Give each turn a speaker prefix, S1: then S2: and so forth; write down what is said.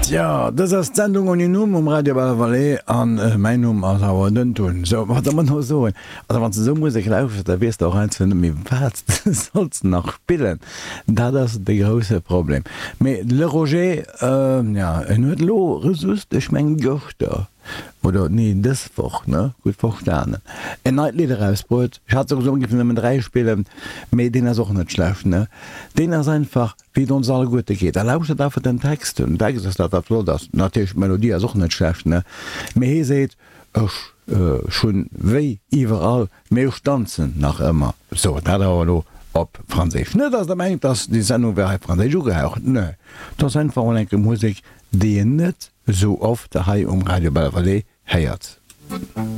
S1: Tjo, dës ass d'Sendung ouni Numm um Radio Bellevallée an mäin Numm ass awer den Tun. Sou, wat soll mer elo soen? Also wann s de esou Musek lauschters, da weess de och einfach net méi wat s de solls nach spillen. Dat ass de grousse Problem. Mee de Le Roger, jo, en huet elo just, ech mengen gëschter, oder nee dës Woch, ne, gutt verstanen, en neit Lidd erausbruet. Ech hat souwisou géifen nëmmen 3 spillen, mee deen ass och net schlecht, ne. Deen ass einfach wéi et ons alleguerte geet. A lauschtert einfach den Text. Den Text ass dat wat flott ass. Natierlech d'Melodie ass och net schlecht, ne, mee hie seet, ech hunn wéi iwwerall, mee ech danzen nach ëmmer. Sou, dat awer elo op Franséisch. Net dass der mengt, dass déi Sendung wär hei franséisch ugehaucht, ne, et ass einfach mol enke Musek, déi een net esou oft hei um Radio Belval héiert.